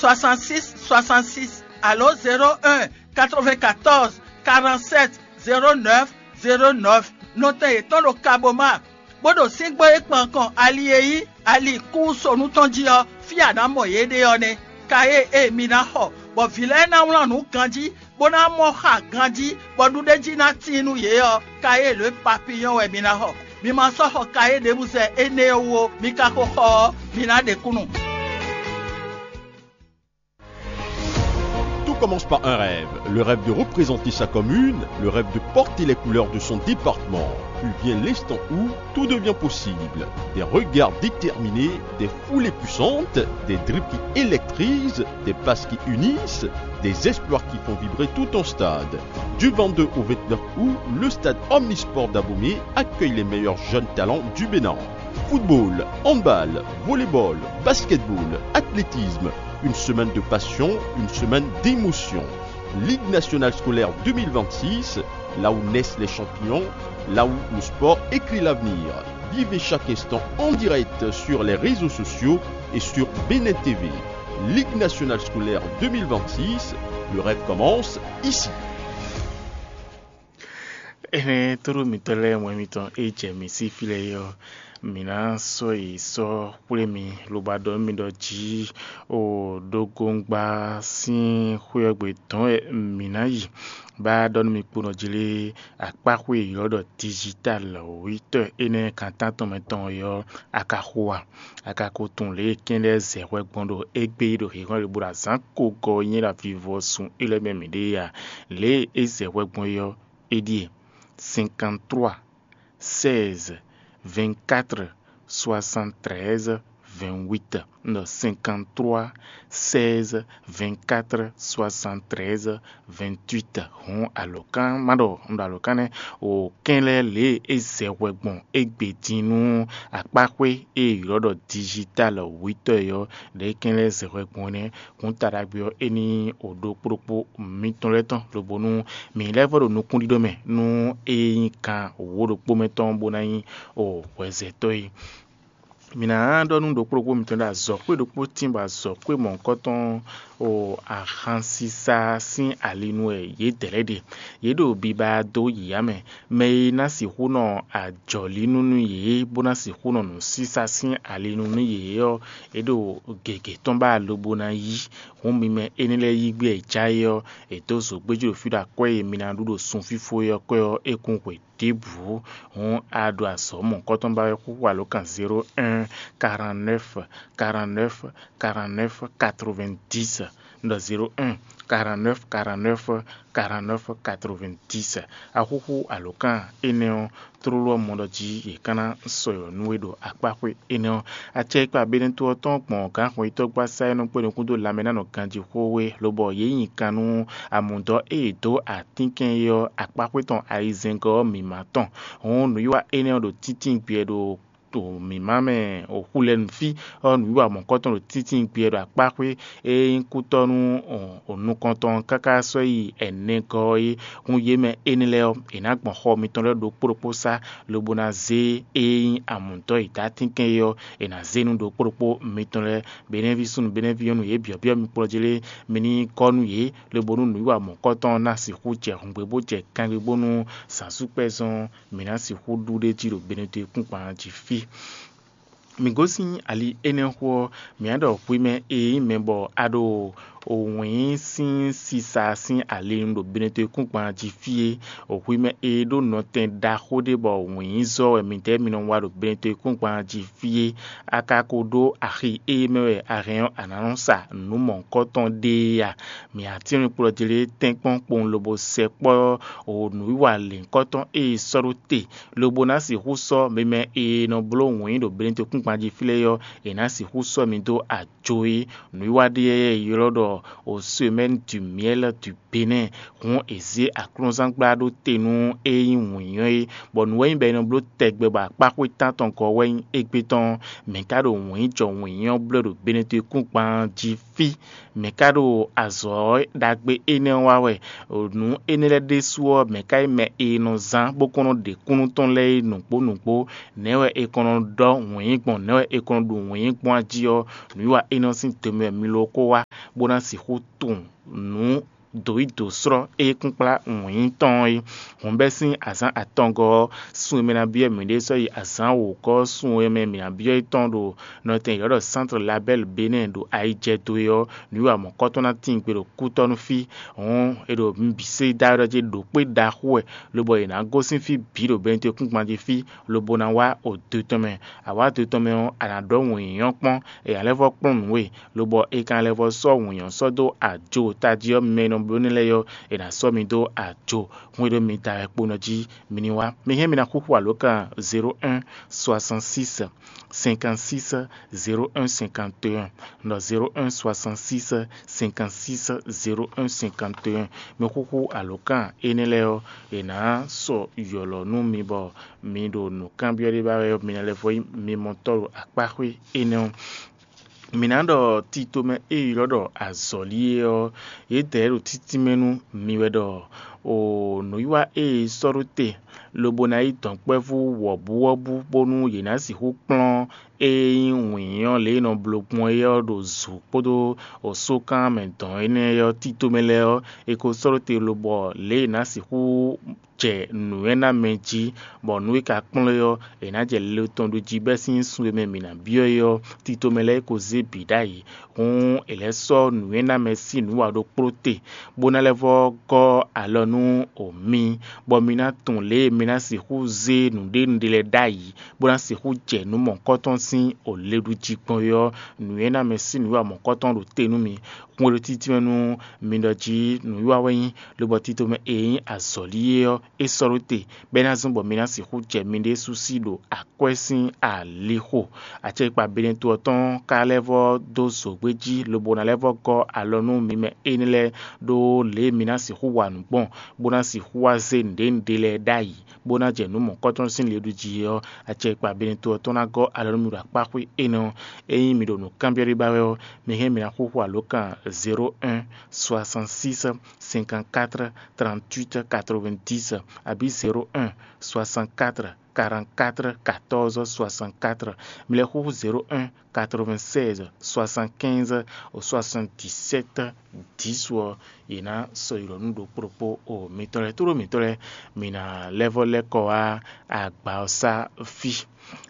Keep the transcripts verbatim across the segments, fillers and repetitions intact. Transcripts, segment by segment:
soixante-six soixante-six alo zéro un quatre-vingt-quatorze quarante-sept zéro neuf zéro neuf. Nɔtɛn yětɔn ɖo Kaboma, bó ɖo síngbó e kpan kɔn ali e nyí ali kú sonu tɔn jí ɔ́, fí a nǎ mɔ yě ɖe ɔ́ nɛ́. Ka e e mi ná xɔ, bɔ vǐ lɛ́ɛ ná wlán nǔ ganjí, bó ná mɔ xa ganjí, bɔ nǔɖéjí ná tíin nú yě ɔ́, ka e lǒ e papiyɔ́n wɛ mi ná xɔ. Mi ma sɔ́ xɔ ka e ɖěbǔ zɛ énɛ́ ɔ́ wú ó, mi ka xo xɔ ɔ́, mi ná ɖe kúnnu. Tout commence par un rêve. Le rêve de représenter sa commune, le rêve de porter les couleurs de son département. Puis vient l'instant où tout devient possible. Des regards déterminés, des foulées puissantes, des dribbles qui électrisent, des passes qui unissent, des espoirs qui font vibrer tout un stade. Du vingt-deux au vingt-neuf août, le stade Omnisport d'Abomey accueille les meilleurs jeunes talents du Bénin. Football, handball, volleyball, basketball, athlétisme, une semaine de passion, une semaine d'émotion. Ligue nationale scolaire deux mille vingt-six, là où naissent les champions, là où le sport écrit l'avenir. Vivez chaque instant en direct sur les réseaux sociaux et sur Bénin T V. Ligue nationale scolaire deux mille vingt-six, le rêve commence ici. Énɛ́ tóɖó mitɔ́ lɛ́ɛ wɛn mitɔn e jɛ mǐ sí fí lɛ́ɛ é ɔ́, mǐ ná sɔ́ yi sɔ́ xwlé mi lobo ɖɔ nú mi ɖɔ jí o ɖógóngba sín xwé ɔ́ gbe dɔn wɛ mǐ ná yi bá ɖɔ nú mi kpo nɔ jlé akpáxwé e ylɔ́ ɖɔ digital wítɔ́ énɛ́ kan tántɔn mɛ tɔn é ɔ́, a ka xo a? A ka ko tunwun lě e kɛ́n lɛ́ɛ zɛ hwɛ gbɔn ɖo égbé ɖo hǐnhɔ́n ɖěbǔ ɖo azǎn ko gɔ́ nyí ɖo avivɔsun é lɛ́ɛ mɛ mǐ ɖe é a? Lě e é zɛ hwɛ gbɔn é ɔ́, é ɖíe: cinquante-trois seize vingt-quatre soixante-treize vingt-huit. Un ɖɔ cinquante-trois seize vingt-quatre soixante-treize vingt-huit. Hǔn alɔ̌kán má ɖɔ un ɖo alɔ̌kán nɛ́ o kɛ́n lɛ́ɛ lě e é zɛ hwɛ gbɔn égbé din nú akpáxwé e è ylɔ́ ɖɔ digital wítɔ́ é ɔ́, lě e kɛ́n lɛ́ɛ zɛ hwɛ gbɔn é nɛ́. Hǔn ta ɖagbe ɔ́, é ní o ɖokpó ɖokpó mitɔn lɛ́ɛ tɔn lobo nú mǐ lɛ́ vɔ ɖo nukúnɖíɖó mɛ nú é nyí kan wǒ ɖokpó mɛ tɔn bó ná nyí o hwɛzɛtɔ́ é. Mǐ ná ɖɔ nú ɖokpó ɖokpó mitɔn ɖɔ azɔ̌xwé ɖokpó tín bɔ azɔ̌xwé mɔ̌hunkɔtɔn o ahansisa sín ali nu wɛ yědɛɛ lɛ́ɛ ɖe. Yě ɖo biba dó yǐyá mɛ. Mɛ e ná sixú nɔ ajɔ̌línú nú yě bó ná sixú nɔ nǔsísá sín ali nu nú yě ɔ́, é ɖo gěgé tɔn ba lobo ná yí. Hǔn mi mɛ énɛ́ lɛ́ɛ yí gbé e já é ɔ́, è dǒ zogbéjí ɖo fí ɖo akwɛ́ e mi ná ɖu ɖo sunfífó é ɔ́ kwɛ́ ɔ́, é kún hwe ɖěbǔ. Hǔn a ɖo azɔ̌ mɔ̌hunkɔtɔn ba wɛ xúxú alǒkan zéro un quarante-neuf quarante-neuf quarante-neuf quatre-vingt-dix. Un ɖɔ zéro un quarante-neuf quarante-neuf quarante-neuf quatre-vingt-dix. A xúxú alǒkan énɛ́ ɔ́, tlóló ɔ́ mɔ ɖɔ jí yě ká ná sɔ́ yɔ nú we ɖo akpáxwé énɛ́ ɔ́. Acɛkpa Benɛto ɔ́ tɔn gbɔn gǎnxɔyítɔ́gbasá e nɔ kpé nukún dó lanmɛ ná nɔ ganjí xó we, lobɔ yě nyi kan nú amǔdɔ́ e è dǒ atínkɛn é ɔ́ akpáxwé tɔn ayizɛ́ngɔ́ ɔ́ mǐmá tɔn. Hǔn nǔwiwa énɛ́ ɔ́ ɖo tíntín gbɛ ɖo to mǐmá mɛ xu lɛ́ɛ nú fí ɔ́, nǔwiwa mɔ̌kɔtɔn ɖo tíntín gbɛ ɖo akpáxwé e nyí kútɔ́ nú nukɔntɔn káká sɔ́ yi ɛnɛgɔ́ é. Hun yě mɛ énɛ́ lɛ́ɛ ɔ́, è nǎ gbɔn xɔ mitɔn lɛ́ɛ ɖokpó ɖokpó sá, lobo ná zé e nyí amǔtɔ́ yi dó atínkɛn é ɔ́, è nǎ zé nú ɖokpó ɖokpó mitɔn lɛ́ɛ. Benɛ́ví súnnu, benɛ́ví nyɔ́nu, yě byɔ̌byɔ́ mi kplɔ́ jí lé, mi ní kɔ́ nú yě, lobo nú nǔwiwa mɔ̌kɔtɔn ɔ́ ná sixú jɛ hǔngbé bó jɛ kangbé bónú zǎnsúkpɛ́zɔn mǐ ná sixú ɖu ɖ'é jí ɖo Benɛto e kún gban jí fí. Mǐ gosín ali énɛ́ xo ɔ́, mǐ á ɖɔ hwi mɛ e nyí mɛ bɔ a ɖo wǐin sín sisa sín ali nu ɖo Benɛto e kún gban jí fí é. Hwi mɛ e ɖó nɔtɛn ɖaxó ɖé bɔ wǐinzɔ́ wɛ midɛɛ mi nɔ wa ɖo Benɛto e kún gban jí fí é. A ka ko ɖó axi e mɛ wɛ a hɛn ɔ́, a nǎ nɔ sa nǔ mɔ̌hunkɔtɔn ɖé é a? Mǐ á tínmɛ kplɔ́ jlé tɛ́nkpɔ́n kpowun lobo sɛkpɔ́ nǔwiwa lěhunkɔtɔn e è sɔ́ ɖó te, lobo ná sixú sɔ́ mi mɛ e nɔ bló wǐin ɖo Benɛto kún gban jí fí lɛ́ɛ ɔ́, è nǎ sixú sɔ́ mi dó ajo é. Nǔwiwa ɖé e è ylɔ́ ɖɔ au semaine du miel du Benɛ́ɛ, hǔn è zě aklúnzán gbla ɖó te nú é nyí wǐnyɔ́ é, bɔ nǔ wɛ nyí bɔ è nɔ bló tɛgbɛ bɔ akpáxwé tántɔn gɔ́ wɛ nyí égbé tɔn. Mɛ̌ ka ɖo wǐnjɔ wǐnyɔ́ blɔ́ ɖo Benɛtɔ́ kúngban jí fí? Mɛ̌ ka ɖo azɔ̌ ɖagbe énɛ́ wa wɛ? Nǔ énɛ́ lɛ́ɛ ɖésú ɔ́, mɛ̌ ka nyí mɛ e nɔ zán bó kɔn nɔ ɖe kúnnu tɔn lɛ́ɛ é nǔgbó nǔgbó? Nɛ̌ wɛ è kɔn nɔ ɖɔ wǐnyí gbɔn? Nɛ̌ wɛ è kɔn nɔ ɖu wǐnyí gbɔn a jí ɔ́? Nǔwiwa énɛ́ sín tɛnmɛ wɛ mi lɔ ko wá, bó ná sixú tunwun nǔ dǒ yi dǒ slɔ́ e kúnkplá wǐnyí tɔn é. Hǔn bɛ́ sín azǎn atɔngɔ́ ɔ́, sun e mɛ ná byɔ́ mǐɖée sɔ́ yi azǎn wǒgɔ́ sun e mɛ mǐ ná byɔ́ é tɔn ɖo nɔtɛn yɔ̌ɖɔ Sántre Labɛ́l Benɛ́ɛ ɖo ayijɛdo é ɔ́, nǔwiwa mɔ̌kɔ́tɔn ná tíin gbe ɖo kútɔ́ nú fí. Hǔn è ɖo mi bǐ sɛ́ dó aɖɔ jí ɖo kpé ɖaxó wɛ, lobɔ è nǎ gosín fí bǐ ɖo Benɛtɔ́ kúngban jí fí, lobo ná wá odo tɔn mɛ. A wǎ do tɔn mɛ ɔ́, a nǎ ɖɔ wǐnyɔ́ kpɔ́n, è nǎ lɛ́ vɔ́ kplɔ́n nǔ we, lobɔ è ka lɛ́ vɔ sɔ́ wǐnyɔ́ sɔ́ dó ajo tají ɔ́ mɛ e nɔ bló nɛ́ lɛ́ɛ ɔ́, è nǎ sɔ́ mi dó ajo. Hwɛndo mi da wɛ kpo nɔ jí mi ní wá. Mi hɛn mi ná xúxú alǒkan zéro un soixante-six cinquante-six zéro un cinquante et un, nɔ zéro un soixante-six cinquante-six zéro un cinquante et un. Mi xúxú alǒkan énɛ́ lɛ́ɛ ɔ́, è nǎ sɔ yɔ̌lɔ́ nú mi bɔ mi ɖo nǔkanbyɔ́ ɖé ba wɛ ɔ́, mi ná lɛ́ vɔ nyí mimɔtɔ́ ɖo akpáxwé énɛ́ ɔ́. Mǐ ná ɖɔ tito mɛ e ylɔ́ ɖɔ azɔ̌li é ɔ́, yědɛɛ ɖo títínmɛ nú mi wɛ ɖɔ o nǔwiwa e è sɔ́ ɖó te, lobo ná yí dɔ̌nkpɛvú wɔ̌buwɔ́bú bónú yě ná sixú kplɔ́n e nyí wǐnyɔ́ lě e è nɔ bló gbɔn é ɔ́ ɖo zǔ kpódó osókan mɛ dɔn énɛ́ ɔ́ tito mɛ lɛ́ɛ ɔ́, è ko sɔ́ ɖó te lobɔ lě e è nǎ sixú jɛ nǔ e ná mɛ jí, bɔ nǔ e ka kplɔ́n é ɔ́, è nǎ jɛ le tɔn ɖu jí bɛ́ sín sun e mɛ mǐ ná byɔ́ é ɔ́, tito mɛ lɛ́ɛ ko zé bǐ ɖ'ayǐ. Hǔn è lɛ́ sɔ́ nǔ e ná mɛ sín nǔ wa ɖokpló te, bó ná lɛ́ vɔ́ gɔ́ alɔ nú o mi, bɔ mi ná tunwun lě e mi ná sixú zé nǔɖénúɖé lɛ́ɛ ɖ'ayǐ, bó ná sixú jɛ nǔ mɔ̌kɔ́tɔn sín o le ɖu jí gbɔn é ɔ́, nǔ e ná mɛ sín nǔ wa mɔ̌kɔ́tɔn ɖo te nú mi. Hwɛndo títí mɛ nú mi ɖɔ jí nǔwiwa wɛ nyí, lobɔ tito mɛ e nyí azɔ̌li é ɔ́, é sɔ́ ɖó te, bɔ é ná zɔ́n bɔ mi ná sixú jɛ miɖée sú sí ɖo akwɛ́ sín alixo. Acɛkpa Benɛto ɔ́ tɔn ka lɛ́ vɔ́ dó zǒgbé jí, lobo ná lɛ́ vɔ́ gɔ́ alɔ nú mi mɛ énɛ́ lɛ́ɛ, ɖó lě e mi ná sixú wa nǔ gbɔn, bó ná sixú wá zé nǔɖénúɖé lɛ́ɛ ɖ'ayǐ, bó ná jɛ nǔ mɔ̌kɔ́tɔn sín le ɖu jí é ɔ́, acɛkpa Benɛto ɔ́ tɔn ná gɔ́ alɔ nú mi ɖo akpáxwé énɛ́ ɔ́. Ényí mi ɖo nǔ kanbyɔ́ ɖé ba wɛ ɔ́, mi hɛn mi ná xúxú alǒkan zéro un soixante-six cinquante-quatre trente-huit quatre-vingt-dix, abǐ zéro un soixante-quatre quarante-quatre quatorze soixante-quatre. Mi lɛ́ xúxú zéro un quatre-vingt-seize soixante-quinze soixante-dix-sept dix ɔ́, yě ná sɔ́ yi ɖɔ nú ɖokpó ɖokpó o mitɔn lɛ́ɛ tlóló mitɔn lɛ́ɛ, mi ná lɛ́ vɔ́ lɛ́ kɔ wá agba ɔ́ sá fí.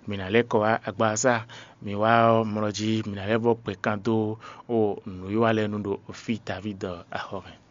Mi ná lɛ́ kɔ wá agba ɔ́ sá, mi wá ɔ́ mlɔ jí, mi ná lɛ́ vɔ́ gbɛ̌ kan dó o nǔwiwa lɛ́ɛ nu ɖo fí Davídi axɔ́ mɛ.